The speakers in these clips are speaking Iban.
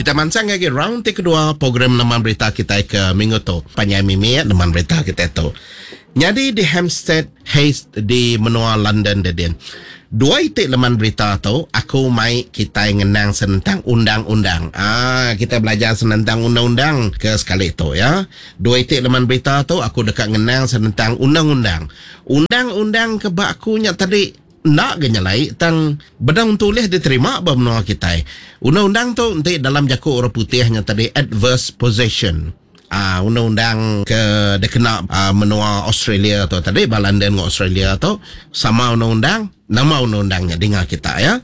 Kita mansang agi round ti kedua program Leman Berita kitai ke minggu tu. Panjai mimit Leman Berita kitai tu. Nyadi di Hampstead Heath di menua London dedin. Dua iti leman berita tu aku mai kitai ngenang senentang undang-undang. Aa kitai belajar senentang undang-undang ke sekali tu ya. Dua iti leman berita tu aku deka ngenang senentang undang-undang. Undang-undang ke ba aku nya tadi enda ga nyelai tang bedau entu ulih diterima ba menua kitai. Undang-undang tu enti dalam jaku orang putih nya tadi adverse possession. Aaa undang-undang ke dikena menua Australia tu tadi ba London enggau Australia tu sama undang-undang nama undang-undang nya dinga kita ya.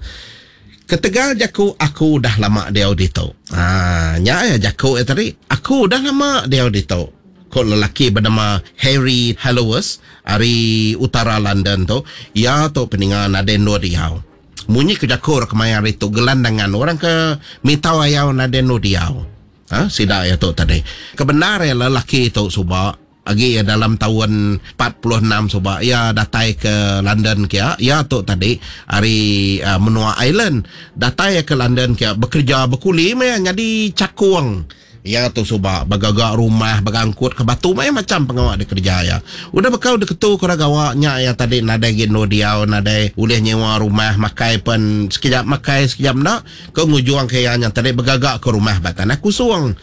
Ketegal jaku aku udah lama diau ditu. Aaa nya iya jaku iya tadi aku udah lama diau ditu ku lelaki benama Harry Hallowes ari utara London tu iya tu peninga nadai endur diau. Munyi ku jaku orang kemaya hari tu gelandangan orang ke mitau ayau nadai endur diau. Ha, sida iya tu tadi. Kebendar iya lelaki tu suba, agi iya dalam taun 46 suba iya datai ke London kia, iya tu tadi ari uh, menua Ireland. Datai iya ke London kia bekerja bekuli meh iya nyadi cakung. Iya tu suba begaga rumah, begangkut ke batu meh macam pengawa dikereja iya. Udah bekau diketu ke orang gawa nya iya tadi nadai agi endur diau, nadai ulih nyewa rumah, makai pen sekejap makai sekejap enda. Ke ngujung ke iya nya tadi begaga ke rumah ba tanah kusung.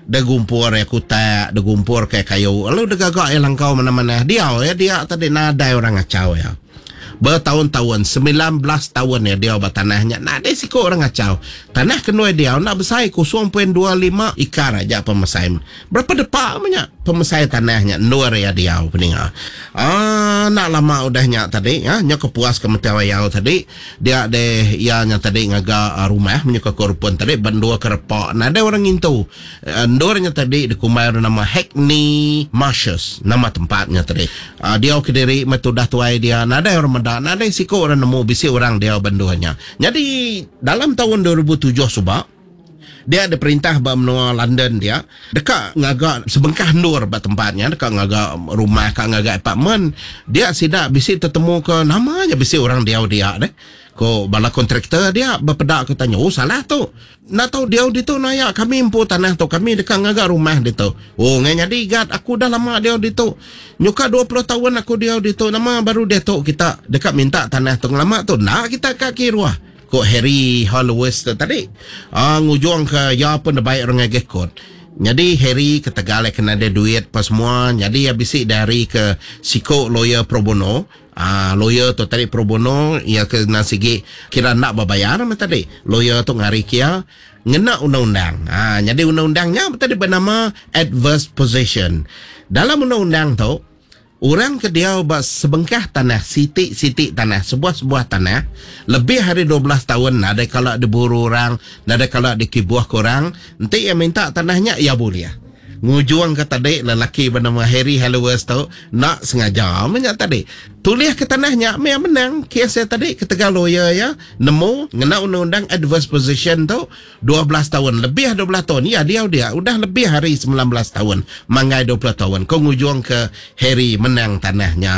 Degumpur iya kutak, degumpur ke kayu lalu degaga iya langkau manah-manah. Diau iya dia tadi nadai orang ngachau iya. Betaun-taun, 19 taun iya diau ba tanah nya nadai siku orang ngachau. Tanah ke endur iya diau enda besai 0.25 ikar aja pemesai. Berapa depa meh nya pemesai tanah nya endur iya diau peninga. Aaa enda lama udah nya tadi nya ke puas ke meti ayau tadi. Dia deh iya nya tadi ngaga rumah menyuka ke rupun tadi ba endur ke repa nadai orang ngintu. Endur nya tadi dikumbai orang nama Hackney Marshes nama tempat nya tadi. Diau kediri meh tudah tuai dia nadai orang meda nadai siku orang nemu bisi orang diau ba endur nya. Nyadi dalam taun 2007 suba Dia diperintah ba menua London dia deka ngaga sebengkah endur ba tempat nya deka ngaga rumah ka ngaga apartment dia sida bisi tetemu ke nama nya bisi orang diau dia deh ko bala kontraktor dia bepeda ke tanya oh salah tu enda tau diau ditu naya kami empu tanah tu kami deka ngaga rumah ditu oh ngai nyadi gat aku dah lama diau ditu nyuka 20 taun aku diau ditu nama baru diatu kita deka minta tanah tu ngelama tu enda kita ka kiruh. Ku Harry Hollowes tu tadi, ngujungka iya pun dibai orang ngagai kot. Nyadi Harry ketegal iya ke nadai duit pa semua, nyadi iya bisi diari ke siku lawyer pro bono. Lawyer tu tadi pro bono iya ke endang sigi kira enda bebayar meh tadi. Lawyer tu ngari ke iya ngena undang-undang. Nyadi undang-undang nya tadi benama adverse possession. Dalam undang-undang tu, Orang ke diau ba sebengkah tanah, siti-siti tanah, sebuah-sebuah tanah, lebih ari 12 taun nadai kala diburu orang, nadai kala dikibuhka orang, enti iya minta tanah nya, iya bulih. Ngujungka tadi lelaki benama Harry Hallowes tu enda sengaja meh nya tadi. Tulihka tanah nya meh iya menang kes iya tadi ketegal lawyer iya nemu ngena undang-undang adverse possession tu 12 taun, lebih 12 taun iya diau dia, udah lebih ari 19 taun, manggai 20 taun, ko ngujung ke Harry menang tanah nya.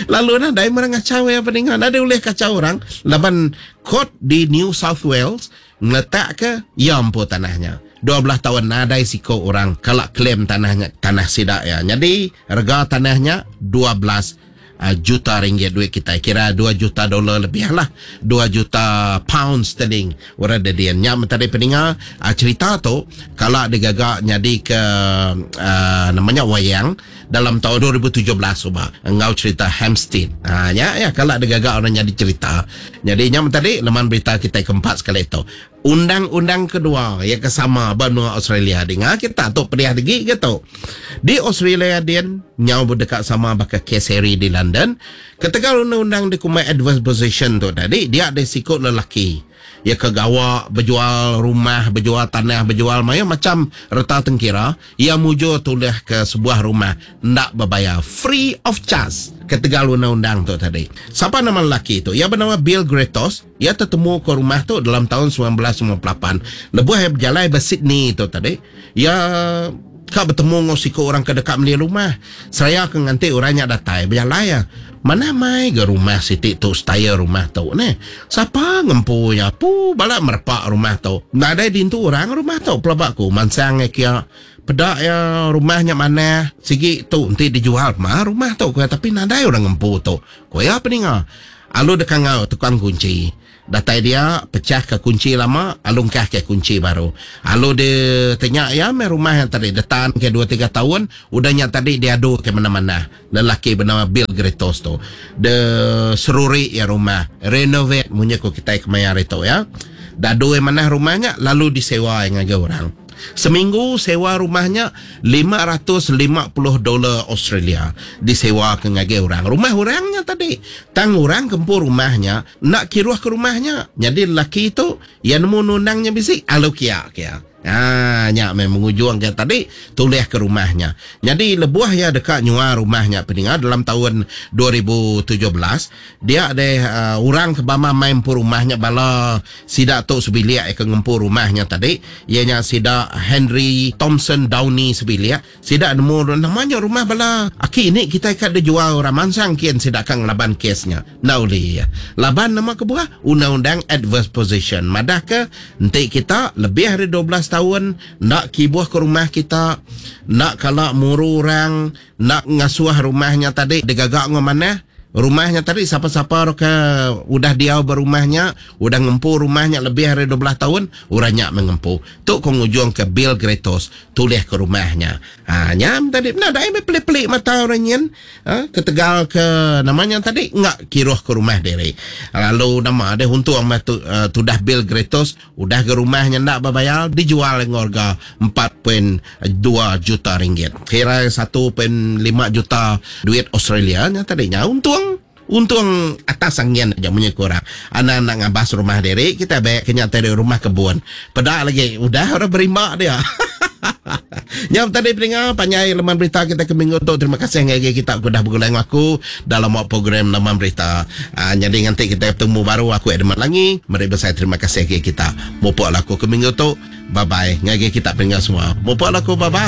Lalu nadai meh ngachau iya peninga, nadai ulih kachau orang laban court di New South Wales ngeletak ke iya empu tanah nya. 12 taun nadai siko orang kala claim tanah nya tanah sida iya. Nyadi rega tanah nya 12 juta ringgit duit kitai kira dua juta dolar lebih lah dua juta pound sterling orang dedin nya men tadi peninga cerita tu kala digaga nyadi ke uh, nama nya wayang dalam tahun 2017 suba enggau cerita Hampstead ha nya ya kala digaga orang nyadi cerita jadi nya men tadi leman berita kitai keempat sekali tu Undang-undang kedua iya ke sama ba menua Australia dinga kita tu pedih agi ke tu. Di Australia din nyau deka sama baka kes Harry di London. Ketegal undang-undang dikumbai adverse possession tu tadi dia deh siku lelaki iya ke gawa bejual rumah, bejual tanah, bejual mayuh macham reta tengkira iya mujur tulih ke sebuah rumah enda bebayar free of charge ketegal undang-undang tu tadi. Sapa nama lelaki tu? Iya benama Bill Gretos. Iya tetemuka rumah tu dalam taun 1998 lebuh iya bejalai ba Sydney tu tadi. Iya Ka betemu enggau siku orang ke deka meli rumah. Seraya ke nganti orang nya datai bejalai iya. Manah mai ga rumah siti tu style rumah tu neh. Sapa ngempu iya apu bala merepa rumah tu. Nadai dintu orang rumah tu pelaba ku mansang iya kia. Peda iya rumah nya manah sigi tu enti dijual ma rumah tu ku iya tapi nadai orang ngempu tu. Ku iya peninga. Alu deka enggau tukang kunchi. Datai dia, pechah ke kunchi lama, alu engkah ke kunchi baru. Alu di tenya iya meh rumah iya tadi detan ke dua tiga taun, udah nya tadi diadu ke manah-manah. Lelaki benama Bill Gretos tu. De seruri iya rumah, renovate munyi ku kitai kemaya hari tu iya. Dadu iya manah rumah nya lalu disewa iya ngagai orang. Seminggu sewa rumah nya 550 dolar Australia disewa ke ngagai orang. Rumah orang nya tadi. Tang orang ke empu rumah nya enda kiruh ke rumah nya. Nyadi lelaki tu iya nemu undang-undang nya bisi alu kia kia. Haa nya meh mengujung ke tadi tulih ke rumah nya. Nyadi lebuh iya deka nyual rumah nya peninga dalam taun 2017 dia deh orang ke bama mai empu rumah nya bala Sida tu sebilik ke ngempu rumah nya tadi, iya nya sida Henry Thompson Downey sebilik. Sida nemu nama nya rumah bala aki ini kitai ka dijual orang mansang kin sida ka ngelaban kes nya. Enda ulih iya. Laban nama kebuah? Undang-undang adverse possession madahka enti kita lebih ari 12 taun enda kibuh ke rumah kita, enda kala muru orang, Enda ngasuh rumah nya tadi digaga enggau manah. Rumah nya tadi sapa-sapa ke udah diau ba rumah nya, udah ngempu rumah nya lebih ari 12 taun, orang nya meh ngempu. Tu ko ngujungka Bill Gretos tulih ke rumah nya. Ha nya meh tadi nadai meh pelik-pelik mata orang nyin ha ketegal ke nama nya tadi enggak kiruh ke rumah diri. Lalu nama deh untung meh tu tudah Bill Gretos Udah ga rumah nya enda bebayar dijual enggau rega 4.2 juta ringgit. Kira 1.5 juta duit Australia nya tadi nya untung. Untung atas angin aja munyi ku orang. Anang enda ngabas rumah diri kitai be ke nya tadi rumah kebun. Peda lagi udah orang berimba dia. Nya tadi peninga panjai leman berita kita ke minggu tu. Terima kasih ngagai kita ke udah begulai enggau aku dalam wak program leman berita. Uh, nyadi nganti kita betemu baru aku Edmund Langi. Meri besai terima kasih ngagai kita. Mupuk laku ke minggu tu. Bye bye ngagai kita peninga semua. Mupuk laku bye bye.